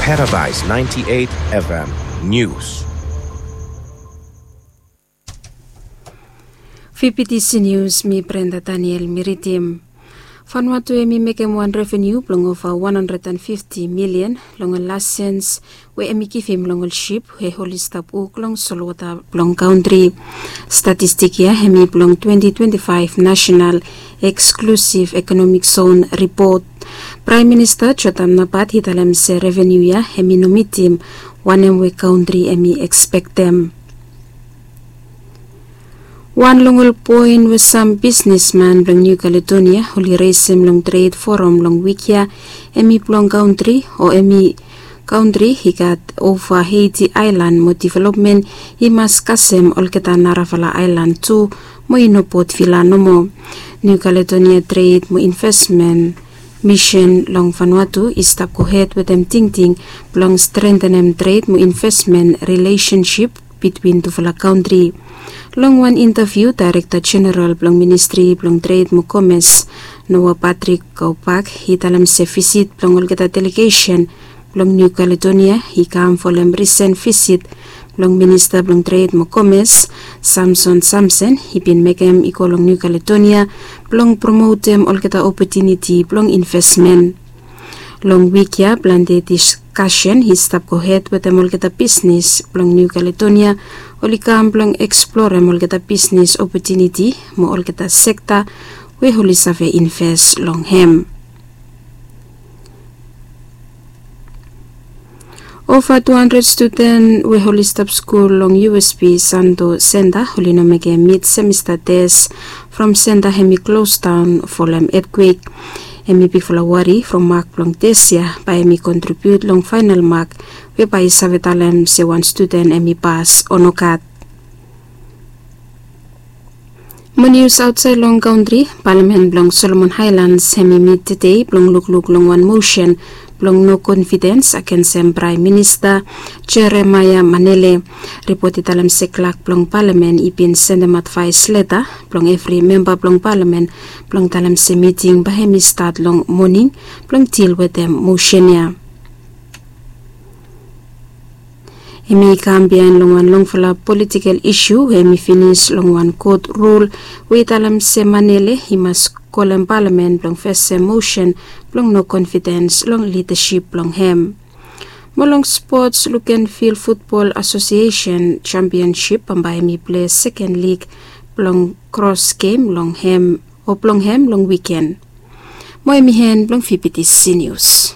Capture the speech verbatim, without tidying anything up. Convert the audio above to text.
Paradise ninety-eight F M News. Fifty News, mi Brenda Daniel, mi ridim. Vanuatu hemi mekem wan reveniu blong ova wan handred and fifti milian long ol laisens we hemi givim long ol sip we oli stap wok long solwota blong kantri. Statistik ya hemi blong twenti twenti faef National Exclusive Economic Zone Report. Praem Minista Jotam Napat i talem se reveniu ya hemi no mitim wanem we kantri hemi ekspektem. Wan long ol poen we sam bisnesman blong Niu Kaledonia oli resem long tred foram long wik ya, hemi blong kantri o hemi kantri i gat ova eiti aelan mo developmen i mas kasem olgeta narafala aelan tu, mo i no Port Vila nomo. Niu Kaledonia Tred mo Invesmen Misen long Vanuatu i stap gohed wetem tingting blong strentenem tred mo invesmen rilesensip bitwin tufala kantri. Long wan intaviu, Daerekta Jeneral blong Ministri blong Tred mo Komes, Noah Patrick Kaupak, i talem se visit blong olgeta delegesen blong Niu Kaledonia i kam folem risen visit blong Minista blong Tred mo Komes, Samson Samsen, i bin mekem i go long Niu Kaledonia blong promotem olgeta opotuniti blong invesmen. Long wik ya plante diskasen i stap gohed wetem olgeta bisnes blong Niu Kaledonia, oli kam blong eksplorem olgeta bisnes opotuniti mo olgeta sekta we oli save inves long hem. Ova tu handred studen we oli stap skul long U S P Santo Senta oli no mekem mid semesta tes from senta hemi klosdaon folem etkwek. Hemi bigfala wari from mak blong tes ya bae hemi kontribiut long faenal mak we bae i save talem se wan studen hemi pas o nogat. Mo nius aotsaed long kantri, palamen blong Solomon Aelans hemi mit tede blong lukluk long wan mosen blong no konfidens agensem Praem Minista Jeremaia Manele. Ripot i talem se klak blong palamen i bin sendem advaes leta blong evri memba blong palamen blong talem se miting bae hemi stat long moning blong dil wetem mosen ya. Hemi kam biaen long wan longfala politikel isu we hemi finis long wan kot rul we i talem se Manele i mas kolem palamen blong fesem mosen blong no konfidens long lidasip blong hem. Mo long spots, Lukenvil Futbol Asosiesen Jampionsip bambae hemi plei seken lig blong kros gem long hem o blong hem long wiken. Mo hemi en blong Fifty News.